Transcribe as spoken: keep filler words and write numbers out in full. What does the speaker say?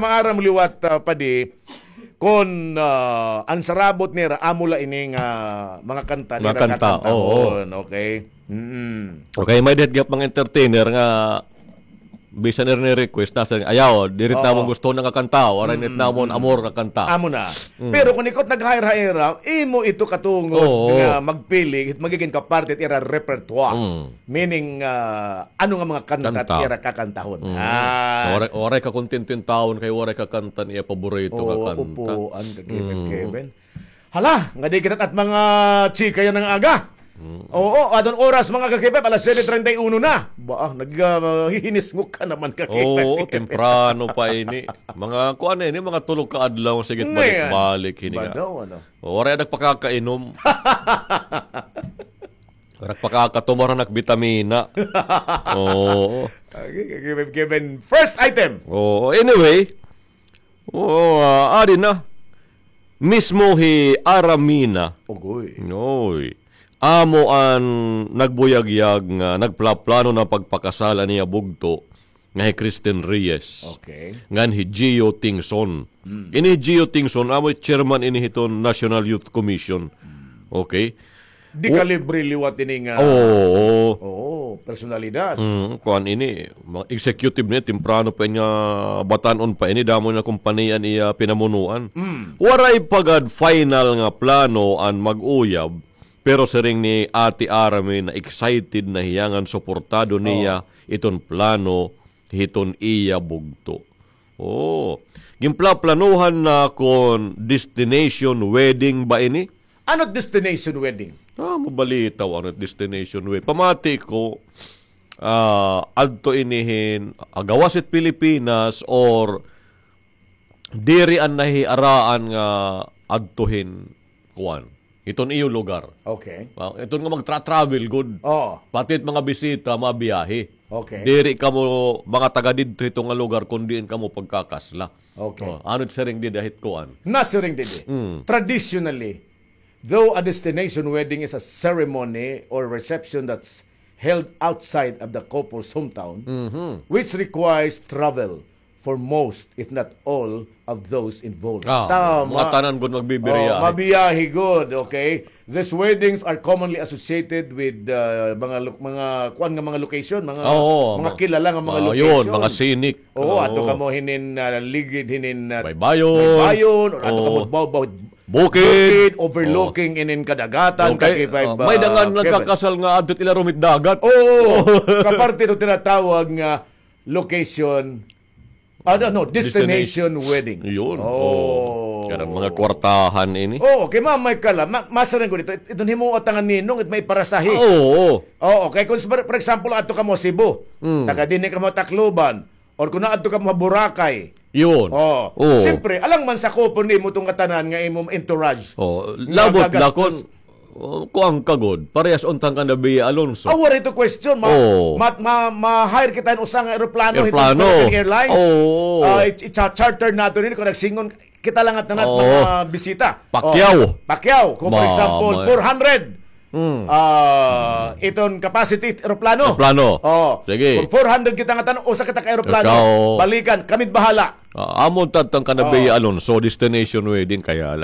maaram liwat, ah, padi, kon, ah, an sarabot nira, amo la ini nga mga kanta Mga nira kanta, kakantahon, oo. Okay? Mm. Okay, may dihat gihap mga entertainer nga bisan nira ni-request, nasiring, ayaw, diri Oo. namon gusto nga kanta, waray nit Mm, namon mm. amor nga kanta. Amo na. Mm. Pero kon ikaw naghair-hair, imo ito katungod Oo. nga magpili, magiging kaparte it ira repertoire. Mm. Meaning, ah, ano nga mga kanta Kanta. ira kakantahon. Mm. Ah. Waray, waray ka kontento in taon kay waray ka kanta niya paborito nga Oo, kanta. upuan ka, Kevin, Mm. Kevin. Hala, nga di kita at mga chika yan ng aga. Mm. Oo, adon oras mga ka-Kevin, alas siyete treinta y uno na. Ba, ah, nag, ah, hihinisngok ka naman ka, Kevin. Oo, temprano pa ini. Mga kuan ini, mga tulo ka adlaw, sige, Ngayon. balik-balik ini nga. Ba daw, ano? O, waray nagpakakainom. Waray pakakatumar anak bitamina. Oo. Okay, okay, Kevin, Kevin. First item. Oo, anyway. Oo, ah, adi na. Mismo hi Aramina. Ugoy. Oy. Amo an nagbuyagyag nga nagplaplano na pagpakasal an iya bugto nga hi Kristen Reyes. Okay. Ngan hi Gio Tingson. Mm. Ini hi Gio Tingson, amo chairman ini hiton National Youth Commission. Mm. Okay. Di O- kalibre liwat ini nga Oo, oo. Oo, personalidad. Mm, kuan ini, ma-, executive ni, temprano pa ini nga batan-on pa ini, damo na kompanya an iya pinamunuan. Mm. Waray pa gad final nga plano an mag-uyab, pero siring ni Ate Army na excited na hiya ngan suportado Oo. niya iton plano hiton iya bugto. Oo. Ginplaplanuhan na kon destination wedding ba ini? Ano destination wedding? Ah, mabalitaw ano destination wedding. Pamati ko, ah, adto ini hin, ah, gawas it Pilipinas or diri an nahiaraan nga adto hin kuan. Iton iyo lugar. Okay. Ah, iton nga magtra-travel gud. Oo. Pati it mga bisita, mabiyahe. Okay. Diri kamo mga taga didto hito nga lugar kun diin kamo pagkakasla. Okay. Oh, ano siring dida hit kuan? Nasiring didi. Mm. Traditionally, though a destination wedding is a ceremony or reception that's held outside of the couple's hometown, Mhm. which requires travel for most, if not all, of those involved. Ah, Tama. mga tanan gud magbibiriyahe. Oh, mabiyahe gud, okay? These weddings are commonly associated with, uh, mga lo-, mga kuan nga mga location, mga, Oo, mga mga kilala nga mga Oo, location. yun, mga scenic. Oo, Oo. ato kamo hinin, uh, ligid hinin, uh, Baybayon. Baybayon, or ato Oo. kamo baw-, baw-, Bukid. bukid, overlooking inin kadagatan, Okay, kakipay uh, ba, may dangan Kevin? nagkakasal nga adto ila rumit dagat. Oo, kaparte ito tinatawag nga location, ano, no, destination Destination. wedding. Yun. Oh. Oh. Kanang mga kwartahan ini. Oo, kay mamay ka la, ma-, masiring ko dito, it-, iton himuot nga ninong, it may parasahe. Oo. Oo, kay kung, for, for example, ato kamo Cebu, Mm. taga dinhi kamo Tacloban, or kung naadto kamo Boracay. Yun. Oh, Oo. siyempre, alang man sa kupo nimo itong katanan nga imong entourage. Oh, Nga labot la gagastos. kon Oh, kuan ka gud, parehas unta han kan Bea Alonso. Ah, waray ito question. Ma-, Oo. ma-, ma-, ma-hire kita hin usa nga eroplano, Eroplano. Philippine Airlines. Oo. Ah, i-, i-cha-, charter nato nini kon nagsingon kita la nga tanan Oo. mga bisita. Pacquiao. Oh, Pacquiao. Kung for Ma-, example, ma- four hundred. Mm. Ah, iton capacity eroplano. Eroplano. Oh. Sige. Kung four hundred kita nga tanan, usa kita ka eroplano. Ikaw. Balikan, kami bahala. Ah, amo unta han kan Oo. Bea Alonso, destination wedding kaya la.